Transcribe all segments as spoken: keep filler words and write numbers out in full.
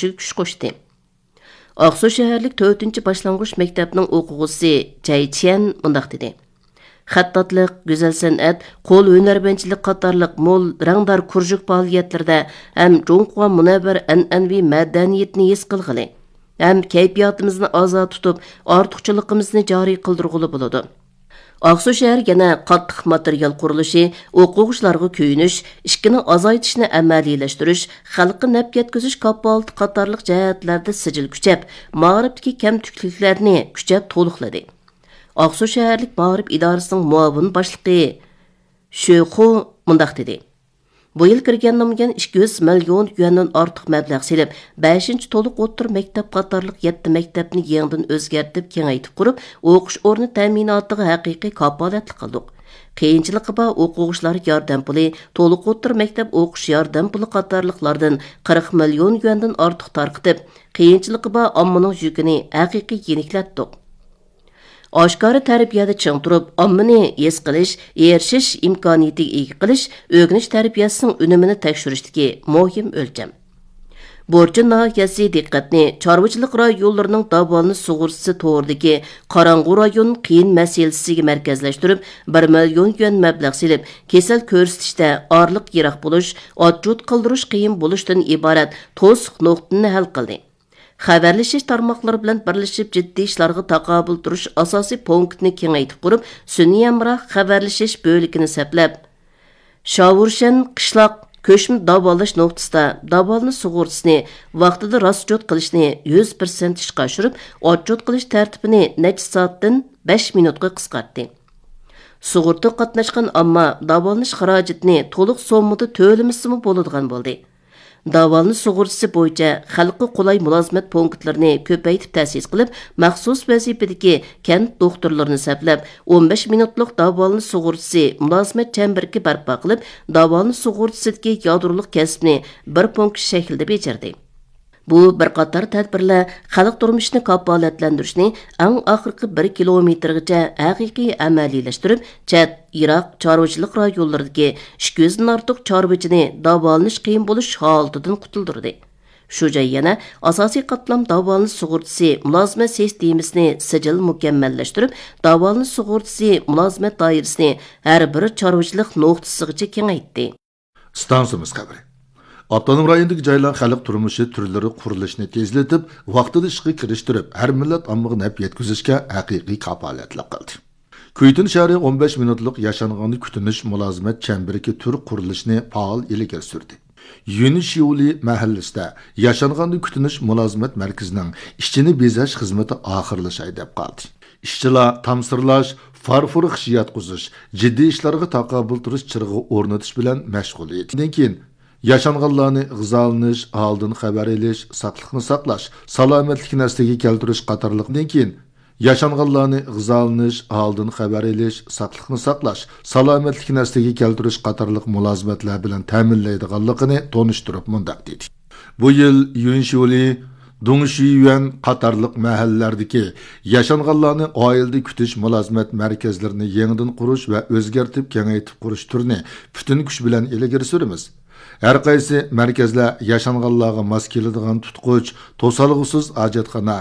كۈچ قوشتى. ئاقسۇ شەھەرلىك تۆتىنچى باشلانغۇچ مەكتەپنىڭ ئوقۇغۇچىسى جەي چيەن مۇنداق دېدى: خەتتاتلىق، گۈزەل سەنئەت، قول ھۈنەرۋەنچىلىك قاتارلىق مول رەڭدار كۇرژۇك پائالىيەتلىرىدە ھەم جۇڭخۇا مۇنەۋۋەر ئەنئەنىۋى مەدەنىيىتىنى ھېس قىلغىلى ھەم كەيپىياتىمىزنى ئازا تۇتۇپ، ئارتۇقچىلىقىمىزنى جارى قىلدۇرغىلى بولىدۇ. ئاقسۇ شەھەر يەنە قاتتىق ماتېرىيال قۇرۇلۇشى، ئوقۇغۇچىلارغا كۆيۈنۈش، ئىشىكنى ئازايتىشنى ئەمەلىيلەشتۈرۈش، خەلققە نەپ يەتكۈزۈش كاپالىتى قاتارلىق جەھەتلەردە سىجىل كۈچەپ، مائارىپتىكى كەمتۈكلۈكلەرنى كۈچەپ تولۇقلىدى. ئاقسۇ شەھەرلىك مائارىپ ئىدارىسىنىڭ مۇئاۋىن باشلىقى شۆ خۇ مۇنداق دېدى: بۇ يىل كىرگەن نامىيان ئىككى يۈز مىليون يۈەندىن ئارتۇق مەبلەغ سېلىپ، بەشىنچى تولۇق ئوتتۇرا مەكتەپ قاتارلىق يەتتە مەكتەپنى يېڭىدىن ئۆزگەرتىپ، كېڭەيتىپ قۇرۇپ، ئوقۇش ئورنى تەمىناتىغا ھەقىقىي كاپالەتلىك قىلدۇق. قىيىنچىلىقى بار ئوقۇغۇچىلار ياردەم پۇلى، تولۇق ئوتتۇرا مەكتەپ ئوقۇش ياردەم پۇلى قاتارلىقلاردىن قىرىق مىليون يۈەندىن ئارتۇق تارقىتىپ، قىيىنچىلىقى بار ئاممىنىڭ يۈكىنى ھەقىقىي يېنىكلەتتۇق. ئاشكارا تەربىيەدە چىڭ تۇرۇپ، ئاممىنى ھېس قىلىش، ئېرىشىش ئىمكانىيىتىگە ئىگە قىلىش ئۆگىنىش تەربىيەسىنىڭ ئۈنۈمىنى تەكشۈرۈشتىكى مۇھىم ئۆلچەم. بۇرچىن ناھىيەسى دىققەتنى چارۋىچىلىق رايونلىرىنىڭ داۋالىنىش سۇغۇرتىسى تورىدىكى قاراڭغۇ رايون قىيىن مەسىلىسىگە مەركەزلەشتۈرۈپ، بىر مىليون يۈەن مەبلەغ سېلىپ، كېسەل كۆرسىتىشتە ئارىلىق يىراق بولۇش، ئاتچوت قىلدۇرۇش قىيىن بولۇشتىن ئىبارەت توسۇق نۇقتىنى ھەل قىلدى. خەۋەرلىشىش تارماقلىرى بىلەن بىرلىشىپ جىددىي ئىشلارغا تاقابىل تۇرۇش ئاساسىي پونكىتىنى كېڭەيتىپ قۇرۇپ، سۈنئىي ھەمراھ خەۋەرلىشىش بۆلىكىنى سەپلەپ، شاۋۇرشەن قىشلاق كۆچمە داۋالاش نۇقتىسىدا داۋالىنىش سۇغۇرتىسىنى ۋاقتىدا راسچوت قىلىشنى يۈز پىرسەنت ئىشقا ئاشۇرۇپ، ئاتچوت قىلىش تەرتىپىنى نەچچە سائەتتىن بەش مىنۇتقا قىسقارتتى. سۇغۇرتا قاتناشقان ئامما داۋالىنىش خىراجىتىنى تولۇق سوممىدا تۆلىمىسىمۇ بولىدىغان بولدى. داۋالىنىش سۇغۇرتىسى بويىچە خەلققە قولاي مۇلازىمەت پونكىتلىرىنى كۆپەيتىپ تەسىس قىلىپ، مەخسۇس ۋەزىپىدىكى كەنت دوختۇرلىرىنى سەپلەپ، ئون بەش مىنۇتلۇق داۋالىنىش سۇغۇرتىسى مۇلازىمەت چەمبىرىكى بەرپا قىلىپ، داۋالىنىش سۇغۇرتىسىدىكى يادرولۇق كەسىپنى بىر پونكىت شەكلىدە بېجىردى. بۇ بىر قاتار تەدبىرلەر خەلق تۇرمۇشىنى كاپالەتلەندۈرۈشنى ئەڭ ئاخىرقى بىر كىلومېتىرغىچە ھەقىقىي ئەمەلىيلەشتۈرۈپ، چەت، يىراق چارۋىچىلىق رايونلىرىدىكى ئىككى يۈزدىن ئارتۇق چارۋىچىنى داۋالىنىش قىيىن بولۇش ھالىتىدىن قۇتۇلدۇردى. شۇ جاي يەنە ئاساسىي قاتلام داۋالىنىش سۇغۇرتىسى مۇلازىمەت سىستېمىسىنى سىجىل مۇكەممەللەشتۈرۈپ، داۋالىنىش سۇغۇرتىسى مۇلازىمەت دائىرىسىنى ھەر بىر چارۋىچىلىق نۇقتىسىغىچە كېڭەيتتى. ئىستانسىمىز خەۋىرى. ئاپتونوم رايوندىكى جايلار خەلق تۇرمۇشى تۈرلىرى قۇرۇلۇشىنى تېزلىتىپ، ۋاقتىدا ئىشقا كىرىشتۈرۈپ، ھەر مىللەت ئاممىغا نەپ يەتكۈزۈشكە ھەقىقىي كاپالەتلىك قىلدى. كۈيتۇن شەھىرى ئون بەش مىنۇتلۇق ياشانغاندا كۈتۈنۈش مۇلازىمەت چەمبىرىكى تۈر قۇرۇلۇشىنى پائال ئىلگىرى سۈردى. يۈنشيۇلى مەھەللىسىدە ياشانغاندا كۈتۈنۈش مۇلازىمەت مەركىزىنىڭ ئىچىنى بېزەش خىزمىتى ئاخىرلىشاي دەپ قالدى. ئىشچىلار تامسىرلاش، فارفور خىش ياتقۇزۇش، جىددىي ئىشلارغا تاقابىل تۇرۇش چىرىغى ئورنىتىش بىلەن مەشغۇل ئىدى. كېيىن ياشانغانلارنى غىزالىنىش، ھالىدىن خەۋەر ئېلىش، ساقلىقنى ساقلاش، سالامەتلىكنى ئەسلىگە كەلتۈرۈش قاتارلىق. كېيىن ياشانغانلارنى غىزالىنىش، ھالىدىن خەۋەر ئېلىش، ساقلىقنى ساقلاش، سالامەتلىكنى ئەسلىگە كەلتۈرۈش قاتارلىق مۇلازىمەتلەر بىلەن تەمىنلەيدىغانلىقىنى تونۇشتۇرۇپ مۇنداق دېدى: بۇ يىل يۈنشيۇلى، دۇڭشۈيۈەن قاتارلىق مەھەللىلەردىكى ياشانغانلارنى ئائىلىدە كۈتۈش مۇلازىمەت مەركەزلىرىنى يېڭىدىن قۇرۇش ۋە ئۆزگەرتىپ كېڭەيتىپ قۇرۇش تۈرىنى پۈتۈن كۈچ بىلەن ئىلگىرى سۈرىمىز. ھەر قايسى مەركەزلەر ياشانغانلارغا ماس كېلىدىغان تۇتقۇچ، توسالغۇسىز ھاجەتخانا،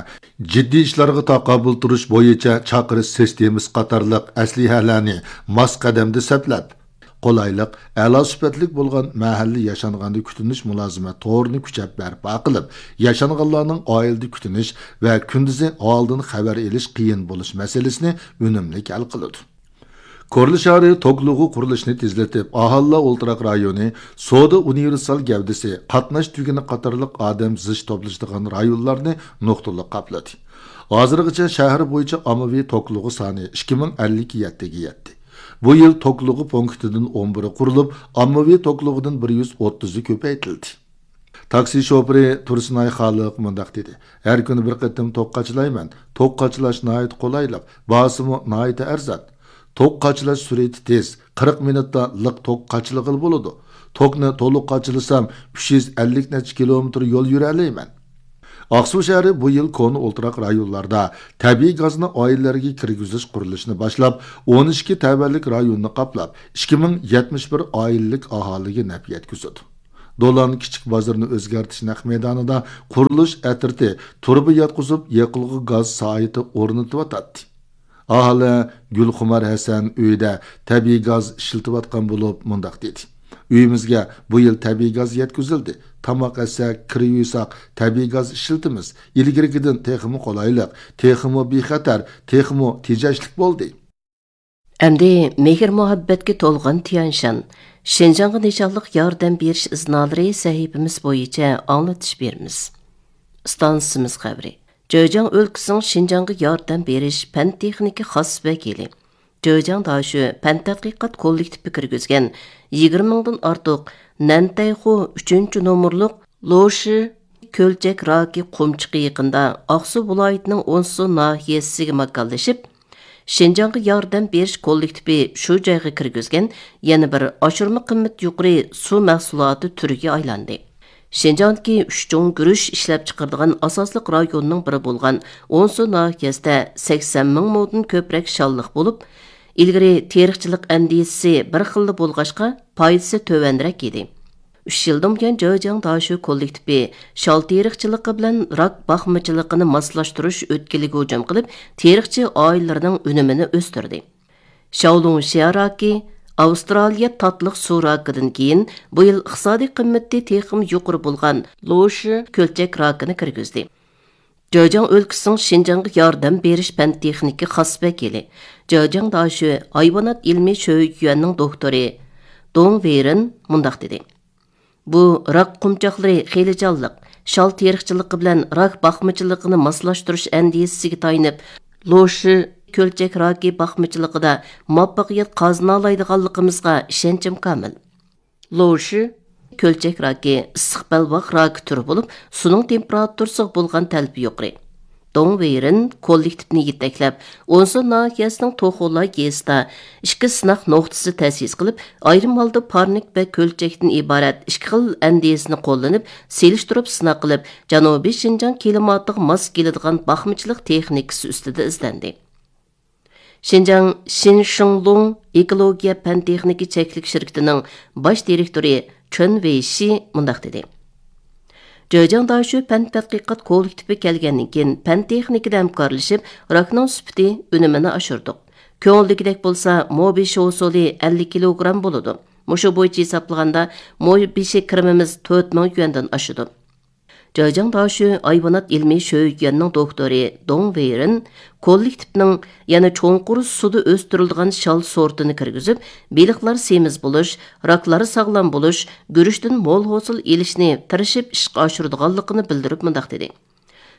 جىددىي ئىشلارغا تاقابىل تۇرۇش بويىچە چاقىرىش سىستېمىسى قاتارلىق ئەسلىھەلەرنى ماس قەدەمدە سەپلەپ، قولايلىق، ئەلا سۈپەتلىك بولغان مەھەللە ياشانغاندا كۈتۈنۈش مۇلازىمەت تورىنى كۈچەپ بەرپا قىلىپ، ياشانغانلارنىڭ ئائىلىدە كۈتۈنۈش ۋە كۈندۈزى ھالىدىن خەۋەر ئېلىش قىيىن بولۇش مەسىلىسىنى ئۈنۈملۈك ھەل قىلىدۇ. كورلا شەھىرى توكلۇغۇ قۇرۇلۇشىنى تېزلىتىپ، ئاھالىلەر ئولتۇراق رايونى، سودا ئۇنىۋېرسال گەۋدىسى، قاتناش تۈگۈنى قاتارلىق ئادەم زىچ توپلىشىدىغان رايونلارنى نۇقتىلىق قاپلىدى. ھازىرغىچە شەھەر بويىچە ئاممىۋى توكلۇغۇ سانى ئىككى مىڭ ئەللىك يەتتىگە يەتتى. بۇ يىل توكلۇغۇ پونكىتىدىن ئون بىرى قۇرۇلۇپ، ئاممىۋى توكلۇغىدىن بىر يۈز ئوتتۇزى كۆپەيتىلدى. تاكسى شوپۇرى تۇرسۇنئاي خالىق مۇنداق دېدى: ھەر كۈنى بىر قېتىم توك قاچىلايمەن. توك قاچىلاش ناھايىتى قولايلىق، باھاسىمۇ ناھايىتى ئەرزان. توك قاچىلاش سۈرئىتى تېز، قىرىق مىنۇتتا لىق توك قاچىلىغىلى بولىدۇ. توكنى تولۇق قاچىلىسام، ئۈچ يۈز ئەللىك نەچچە كىلومېتىر يول يۈرەلەيمەن. ئاقسۇ شەھىرى بۇ يىل كونا ئولتۇراق رايونلاردا تەبىئىي گازنى ئائىلىلەرگە كىرگۈزۈش قۇرۇلۇشىنى باشلاپ، ئون ئىككى تەۋەلىك رايوننى قاپلاپ، ئىككى مىڭ يەتمىش بىر ئائىلىلىك ئاھالىگە نەپ يەتكۈزىدۇ. دولان كىچىك بازىرىنى ئۆزگەرتىش نەق مەيدانىدا قۇرۇلۇش ئەترىتى تۇرۇبا ياتقۇزۇپ، يېقىلغۇ گاز سايىتى ئورنىتىۋاتاتتى. ئاھالە گۈلخۇمار ھەسەن ئۆيىدە تەبىئىي گاز ئىشلىتىۋاتقان بولۇپ، مۇنداق دېدى: «ئۆيىمىزگە بۇ يىل تەبىئىي گاز يەتكۈزۈلدى. تاماق ئەتسەك، كىر يۇيساق، تەبىئىي گاز ئىشلىتىمىز. ئىلگىرىكىدىن تېخىمۇ قولايلىق، تېخىمۇ بىخەتەر، تېخىمۇ تېجەشلىك بولدى.» ئەمدى مېھىر-مۇھەببەتكە تولغان تيەنشان، شىنجاڭغا نىشانلىق ياردەم بېرىش ئىزنالىرى سەھىپىمىز بويىچە ئاڭلىتىش بېرىمىز. ئىستانسىمىز خەۋىرى. جېجياڭ ئۆلكىسىنىڭ شىنجاڭغا ياردەم بېرىش پەن-تېخنىكا خاس ۋەكىلى، جېجياڭ داشۆ پەن تەتقىقات كوللېكتىپى كىرگۈزگەن يىگىرمە مىڭدىن ئارتۇق نەنتەيخۇ ئۈچىنچى نومۇرلۇق لوشى كۆلچەك راكى قۇمچىقى يېقىندا ئاقسۇ ۋىلايىتىنىڭ ئونسۇ ناھىيەسىگە ماكانلىشىپ، شىنجاڭغا ياردەم بېرىش كوللېكتىپى شۇ جايغا كىرگۈزگەن يەنە بىر ئاشۇرما قىممىتى يۇقىرى سۇ مەھسۇلاتى تۈرىگە ئايلاندى. شىنجاڭدىكى ئۈچ چوڭ گۈرۈچ ئىشلەپچىقىرىدىغان ئاساسلىق رايوننىڭ بىرى بولغان ئونسۇ ناھىيەسىدە سەكسەن مىڭ مودىن كۆپرەك شاللىق بولۇپ، ئىلگىرى تېرىقچىلىق ئەندىزىسى بىر خىللا بولغاچقا، پايدىسى تۆۋەنرەك ئىدى. ئۈچ يىلدىن بۇيان جېجياڭ داشۆ كوللېكتىپى شال تېرىقچىلىقى بىلەن راك باقمىچىلىقىنى ماسلاشتۇرۇش ئۆتكىلىگە ھۇجۇم قىلىپ، تېرىقچى ئائىلىلىرىنىڭ ئۈنۈمىنى ئۆستۈردى. شاۋلۇڭشيا راكى، ئاۋسترالىيە تاتلىق سۇ راكىدىن كېيىن، بۇ يىل ئىقتىسادىي قىممىتى تېخىمۇ يۇقىرى بولغان لوشى كۆلچەك راكىنى كىرگۈزدى. جېجياڭ ئۆلكىسىنىڭ شىنجاڭغا ياردەم بېرىش پەن-تېخنىكا خاس ۋەكىلى، جېجياڭ داشۆ ھايۋانات ئىلمىي شۆيۈەننىڭ دوكتورى دۇڭ ۋېيرېن مۇنداق دېدى: «بۇ راك قۇمچاقلىرى خېلى جانلىق، شال تېرىقچىلىقى بىلەن راك باقمىچىلىقىنى ماسلاشتۇرۇش ئەندىزىسىگە تايىنىپ، لوشى كۆلچەك راكى باقمىچىلىقىدا مۇۋەپپەقىيەت قازىنالايدىغانلىقىمىزغا ئىشەنچىم كامىل.» لوشى كۆلچەك راكى ئىسسىق بەلباغ راكى تۈرى بولۇپ، سۇنىڭ تېمپېراتۇرىسىغا بولغان تەلىپى يۇقىرى. دۇڭ ۋېيرېن كوللېكتىپنى يېتەكلەپ، ئونسۇ ناھىيەسىنىڭ توخۇلاي گېزىتىدا ئىككى سىناق نۇقتىسى تەسىس قىلىپ، ئايرىم ھالدا پارنىك ۋە كۆلچەكتىن ئىبارەت ئىككى خىل ئەندىزىنى قوللىنىپ، سېلىشتۇرۇپ سىناق قىلىپ، جەنۇبىي شىنجاڭ كىلىماتىغا ماس كېلىدىغان باقمىچىلىق تېخنىكىسى ئۈستىدە ئىزدەندى. شىنجاڭ شىنشىڭلۇڭ ئېكولوگىيە پەن-تېخنىكا چەكلىك شىركىتىنىڭ باش دىرېكتورى چېن ۋېيشى مۇنداق دېدى: «جېجياڭ داشۆ پەن تەتقىقات كوللېكتىپى كەلگەندىن كېيىن، پەن-تېخنىكىدا ھەمكارلىشىپ، راكنىڭ سۈپىتى، ئۈنۈمىنى ئاشۇردۇق. كۆڭۈلدىكىدەك بولسا، مو بېشى ھوسۇلى ئەللىك كىلوگرام بولىدۇ. مۇشۇ بويىچە ھېسابلىغاندا، مو بېشى كىرىمىمىز تۆت مىڭ يۈەندىن ئاشىدۇ.» جېجياڭ داشۆ ھايۋانات ئىلمىي شۆيۈەننىڭ دوكتورى دۇڭ ۋېيرېن كوللېكتىپنىڭ يەنە چوڭقۇر سۇدا ئۆستۈرۈلىدىغان شال سورتىنى كىرگۈزۈپ، بېلىقلار سېمىز بولۇش، راكلار ساغلام بولۇش، گۈرۈچتىن مول ھوسۇل ئېلىشنى تىرىشىپ ئىشقا ئاشۇرىدىغانلىقىنى بىلدۈرۈپ مۇنداق دېدى: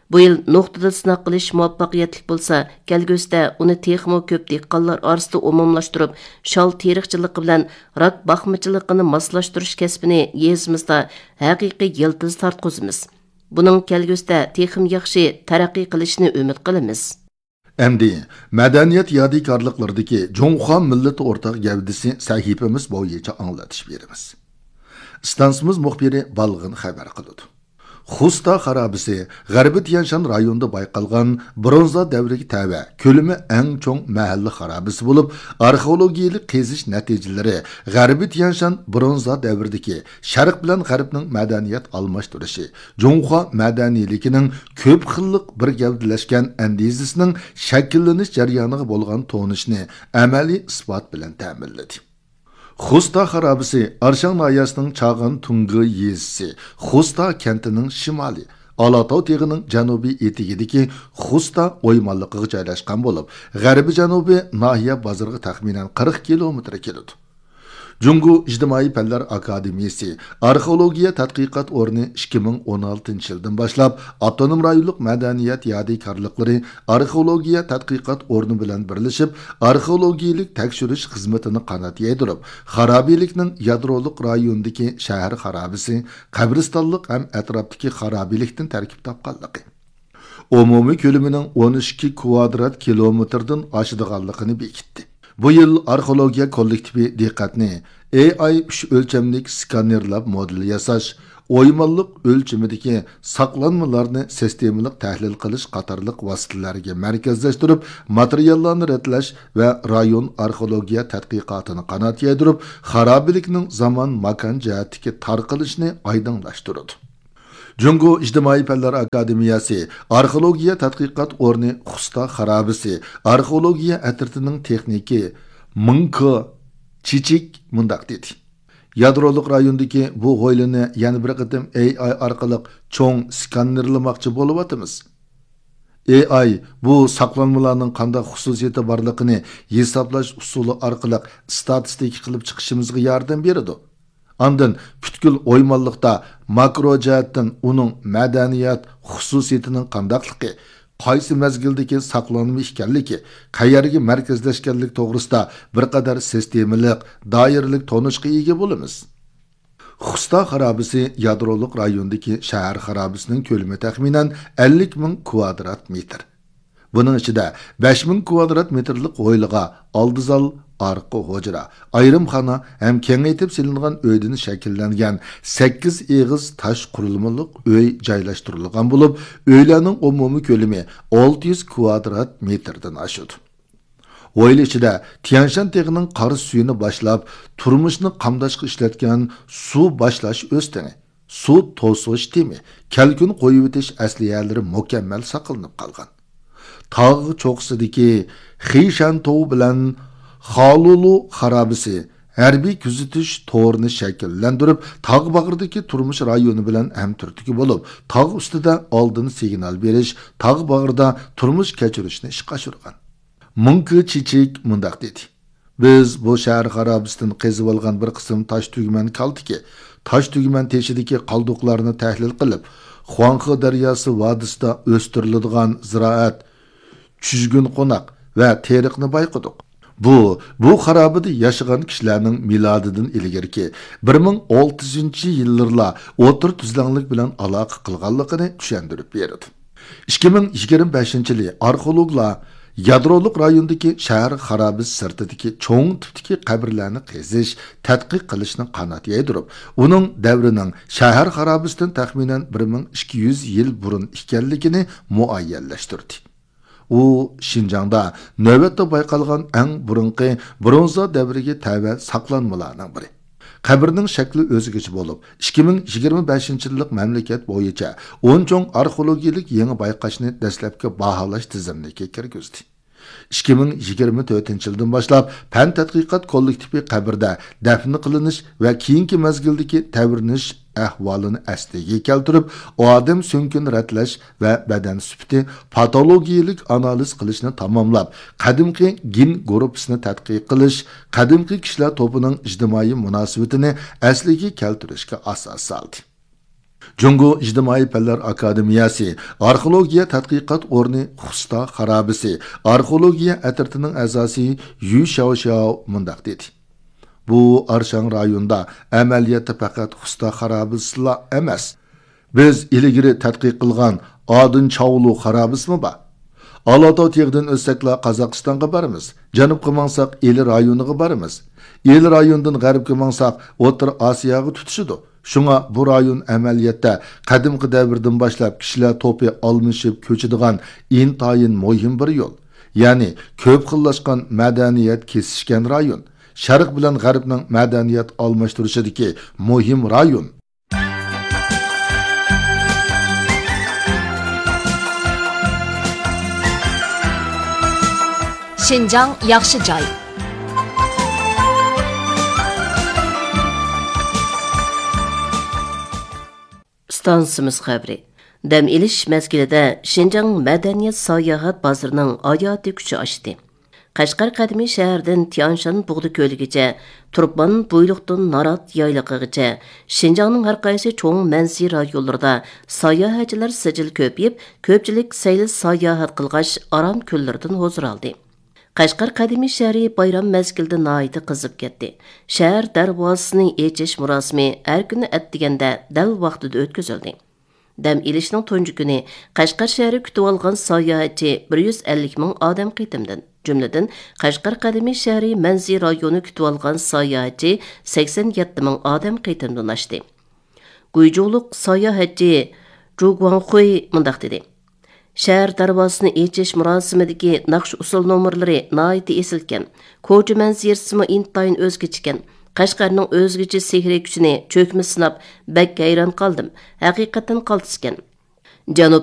«بۇ يىل نۇقتىدا سىناق قىلىش مۇۋەپپەقىيەتلىك بولسا، كەلگۈسىدە ئۇنى تېخىمۇ كۆپ دېھقانلار ئارىسىدا ئومۇملاشتۇرۇپ، شال تېرىقچىلىقى بىلەن راك باقمىچىلىقىنى ماسلاشتۇرۇش كەسپىنى يېزىمىزدا ھەقىقىي يىلتىز تارتقۇزىمىز. بۇنىڭ كەلگۈسىدە تېخىمۇ ياخشى تەرەققىي قىلىشىنى ئۈمىد قىلىمىز.» ئەمدى مەدەنىيەت يادىكارلىقلىرىدىكى جۇڭخۇا مىللىتى ئورتاق گەۋدىسى سەھىپىمىز بويىچە ئاڭلىتىش بېرىمىز. ئىستانسىمىز مۇخبىرى بالغىن خەۋەر قىلىدۇ. خوستا خارابىسى غەربىي تيەنشان رايونىدا بايقالغان برونزا دەۋرىگە تەۋە، كۆلىمى ئەڭ چوڭ مەھەللە خارابىسى بولۇپ، ئارخېئولوگىيەلىك قېزىش نەتىجىلىرى غەربىي تيەنشان برونزا دەۋرىدىكى شەرق بىلەن غەربنىڭ مەدەنىيەت ئالماشتۇرۇشى، جۇڭخۇا مەدەنىيلىكىنىڭ كۆپ خىللىق بىر گەۋدىلەشكەن ئەندىزىسىنىڭ شەكىللىنىش جەريانىغا بولغان تونۇشنى ئەمەلىي ئىسپات بىلەن تەمىنلىدى. خوستا خارابىسى ئارشاڭ ناھىيەسىنىڭ چاغان تۇڭگى يېزىسى، خوستا كەنتىنىڭ شىمالى، ئالاتاۋ تېغىنىڭ جەنۇبىي ئېتىكىدىكى خوستا ئويمانلىقىغا جايلاشقان بولۇپ، غەربىي جەنۇبىي ناھىيە بازىرىغا تەخمىنەن قىرىق كىلومېتىر كېلىدۇ. جۇڭگو ئىجتىمائىي پەنلەر ئاكادېمىيىسى ئارخېئولوگىيە تەتقىقات ئورنى ئىككى مىڭ ئون ئالتىنچى يىلدىن باشلاپ ئاپتونوم رايونلۇق مەدەنىيەت يادىكارلىقلىرى ئارخېئولوگىيە تەتقىقات ئورنى بىلەن بىرلىشىپ، ئارخېئولوگىيەلىك تەكشۈرۈش خىزمىتىنى قانات يايدۇرۇپ، خارابىلىكنىڭ يادرولۇق رايونىدىكى شەھەر خارابىسى، قەبرىستانلىق ھەم ئەتراپتىكى خارابىلىكتىن تەركىب تاپقانلىقى، ئومۇمىي كۆلىمىنىڭ ئون ئىككى كۋادرات كىلومېتىردىن ئاشىدىغانلىقىنى بېكىتتى. بۇ يىل ئارخېئولوگىيە كوللېكتىپى دىققەتنى ئېي ئاي ئۈچ ئۆلچەملىك سكانېرلاپ مودېل ياساش، ئويمانلىق ئۆلچىمىدىكى ساقلانمىلارنى سىستېمىلىق تەھلىل قىلىش قاتارلىق ۋاسىتىلەرگە مەركەزلەشتۈرۈپ، ماتېرىياللارنى رەتلەش ۋە رايون ئارخېئولوگىيە تەتقىقاتىنى قانات يايدۇرۇپ، خارابىلىكنىڭ زامان، ماكان جەھەتتىكى تارقىلىشىنى ئايدىڭلاشتۇرىدۇ. جۇڭگو ئىجتىمائىي پەنلەر ئاكادېمىيەسى ئارخېئولوگىيە تەتقىقات ئورنى خۇستا خارابىسى ئارخېئولوگىيە ئەترىتىنىڭ تېخنىكى مىڭ كې چىچىك مۇنداق دېدى: يادرولۇق رايوندىكى بۇ ھويلىنى يەنە بىر قېتىم ئېي ئاي ئارقىلىق چوڭ سكاننېرلىماقچى بولۇۋاتىمىز. ئېي ئاي بۇ ساقلانمىلارنىڭ قانداق خۇسۇسىيىتى بارلىقىنى ھېسابلاش ئۇسۇلى ئارقىلىق ئىستاتىستىكا قىلىپ چىقىشىمىزغا ياردەم بېرىدۇ. ئاندىن پۈتكۈل ئويمانلىقتا ماكرو جەھەتتىن ئۇنىڭ مەدەنىيەت خۇسۇسىيىتىنىڭ قانداقلىقى، قايسى مەزگىلدىكى ساقلانما ئىكەنلىكى، قەيەرگە مەركەزلەشكەنلىكى توغرىسىدا بىر قەدەر سىستېمىلىق، دائىرىلىك تونۇشقا ئىگە بولىمىز. خۇستا خارابىسى يادرولۇق رايوندىكى شەھەر خارابىسىنىڭ كۆلىمى تەخمىنەن ئەللىك مىڭ كۋادرات مېتىر. بۇنىڭ ئىچىدە بەش مىڭ كۋادرات مېتىرلىق ھويلىغا ئالدى زال، ئارقا ھۇجرا، ئايرىمخانا ھەم كېڭەيتىپ سېلىنغان ئۆيدىن شەكىللەنگەن سەككىز ئېغىز تاش قۇرۇلمىلىق ئۆي جايلاشتۇرۇلغان بولۇپ، ئۆيلەرنىڭ ئومۇمىي كۆلىمى ئالتە يۈز كۋادرات مېتىردىن ئاشىدۇ. ھويلا ئىچىدە تيەنشان تېغىنىڭ قار سۈيىنى باشلاپ، تۇرمۇشنى قامداشقا ئىشلەتكەن سۇ باشلاش ئۆستىڭى، سۇ توسۇش تېمى، كەلكۈن قويۇۋېتىش ئەسلىھەلىرى مۇكەممەل ساقلىنىپ قالغان. تاغ چوققىسىدىكى خىشەنتوۋ بىلەن خالۇلۇ خارابىسى ھەربىي كۆزىتىش تورىنى شەكىللەندۈرۈپ، تاغ باغرىدىكى تۇرمۇش رايونى بىلەن ھەمتۈرتكە بولۇپ، تاغ ئۈستىدە ئالدىن سىگنال بېرىش، تاغ باغرىدا تۇرمۇش كەچۈرۈشنى ئىشقا ئاشۇرغان. مىڭ كې چىچىك مۇنداق دېدى: بىز بۇ شەھەر خارابىسىدىن قېزىۋالغان بىر قىسىم تاش تۈگمەن كالتىكى، تاش تۈگمەن تېشىدىكى قالدۇقلارنى تەھلىل قىلىپ، خۇاڭخې دەرياسى ۋادىسىدا ئۆستۈرۈلىدىغان زىرائەت، چۈجگۈن قوناق ۋە تېرىقنى بايقىدۇق. بۇ، بۇ خارابىدە ياشىغان كىشىلەرنىڭ مىلادىدىن ئىلگىرىكى بىر مىڭ ئالتە يۈزىنچى يىللىرىلا ئوتتۇرا تۈزلەڭلىك بىلەن ئالاقە قىلغانلىقىنى چۈشەندۈرۈپ بېرىدۇ. ئىككى مىڭ يىگىرمە بەشىنچى يىلى ئارخېئولوگلار يادرولۇق رايوندىكى شەھەر خارابىسى سىرتىدىكى چوڭ تىپتىكى قەبرىلەرنى قېزىش، تەتقىق قىلىشنى قانات يايدۇرۇپ، ئۇنىڭ دەۋرىنىڭ شەھەر خارابىسىدىن تەخمىنەن بىر مىڭ ئىككى يۈز يىل بۇرۇن ئىكەنلىكىنى مۇئەييەنلەشتۈردى. ئۇ شىنجاڭدا نۆۋەتتە بايقالغان ئەڭ بۇرۇنقى برونزا دەۋرىگە تەۋە ساقلانمىلارنىڭ بىرى. قەبرىنىڭ شەكلى ئۆزگىچە بولۇپ، ئىككى مىڭ يىگىرمە بەشىنچى يىللىق مەملىكەت بويىچە ئون چوڭ ئارخېئولوگىيەلىك يېڭى بايقاشنى دەسلەپكى باھالاش تىزىملىكىگە كىرگۈزدى. ئىككى مىڭ يىگىرمە تۆتىنچى يىلدىن باشلاپ پەن تەتقىقات كوللېكتىپى قەبرىدە دەپنە قىلىنىش ۋە كېيىنكى مەزگىلدىكى تەۋرىنىش ئەھۋالىنى ئەسلىگە كەلتۈرۈپ، ئادەم سۆڭىكىنى رەتلەش ۋە بەدەن سۈپىتى پاتولوگىيەلىك ئانالىز قىلىشنى تاماملاپ، قەدىمكى گېن گۇرۇپپىسىنى تەتقىق قىلىش، قەدىمكى كىشىلەر توپىنىڭ ئىجتىمائىي مۇناسىۋىتىنى ئەسلىگە كەلتۈرۈشكە ئاساس سالدى. جۇڭگو ئىجتىمائىي پەنلەر ئاكادېمىيەسى ئارخېئولوگىيە تەتقىقات ئورنى خۇستا خارابىسى ئارخېئولوگىيە ئەترىتىنىڭ ئەزاسى يۈ شياۋشياۋ مۇنداق دېدى: بۇ ئارشاڭ رايوندا ئەمەلىيەتتە پەقەت خۇستا خارابىسىلا ئەمەس. بىز ئىلگىرى تەتقىق قىلغان ئادۇن چاۋلۇ خارابىسىمۇ بار. ئالاتاۋ تېغىدىن ئۆتسەكلا قازاقىستانغا بارىمىز، جەنۇبقا ماڭساق ئىلى رايونىغا بارىمىز. ئىلى رايونىدىن غەربكە ماڭساق ئوتتۇرا ئاسىياغا تۇتىشىدۇ. شۇڭا بۇ رايون ئەمەلىيەتتە قەدىمكى دەۋردىن باشلاپ كىشىلەر توپى ئالمىشىپ كۆچىدىغان ئىنتايىن مۇھىم بىر يول. يەنى كۆپ خىللاشقان مەدەنىيەت كېسىشكەن رايون. شەرق بىلەن غەربنىڭ مەدەنىيەت ئالماشتۇرۇشىدىكى مۇھىم رايون. شىنجاڭ ياخشى جاي. ئىستانسىمىز خەۋىرى. دەم ئېلىش مەزگىلىدە شىنجاڭ مەدەنىيەت ساياھەت بازىرىنىڭ ھاياتىي كۈچى ئاشتى. قەشقەر قەدىمىي شەھىرىدىن تيانشان بۇغدا كۆلىگىچە، تۇرپان بۇيلۇقتىن نارات يايلىقىغىچە، شىنجاڭنىڭ ھەر قايسى چوڭ مەنزىرە رايونلىرىدا ساياھەتچىلەر سىجىل كۆپىيىپ، كۆپچىلىك سەيل ساياھەت قىلغاچ، ئارام كۈنلىرىدىن ھۇزۇر ئالدى. قەشقەر قەدىمىي شەھىرى بايرام مەزگىلىدە ناھايىتى قىزىپ كەتتى. شەھەر دەرۋازىسىنى ئېچىش مۇراسىمى ھەر كۈنى ئەتىگەندە دەل ۋاقتىدا ئۆتكۈزۈلدى. دەم ئېلىشنىڭ تۇنجى كۈنى قەشقەر شەھىرى كۈتۈۋالغان ساياھەتچى بىر يۈز ئەللىك مىڭ ئادەم قېتىمدىن، جۈملىدىن قەشقەر قەدىمىي شەھىرى مەنزىرە رايونى كۈتۈۋالغان ساياھەتچى سەكسەن يەتتە مىڭ ئادەم قېتىمدىن ئاشتى. گۇيجۇلۇق ساياھەتچى جۇ گۇاڭخۇي مۇنداق دېدى: شەھەر دەرۋازىسىنى ئېچىش مۇراسىمىدىكى ناخشا ئۇسسۇل نومۇرلىرى ناھايىتى ئېسىلكەن. كوچا مەنزىرىسىمۇ ئىنتايىن ئۆزگىچىكەن. قەشقەرنىڭ ئۆزگىچە سېھرىي كۈچىنى چۆكمە سىناپ، بەك ھەيران قالدىم. ھەقىقەتەن قالتىسكەن. جەنۇب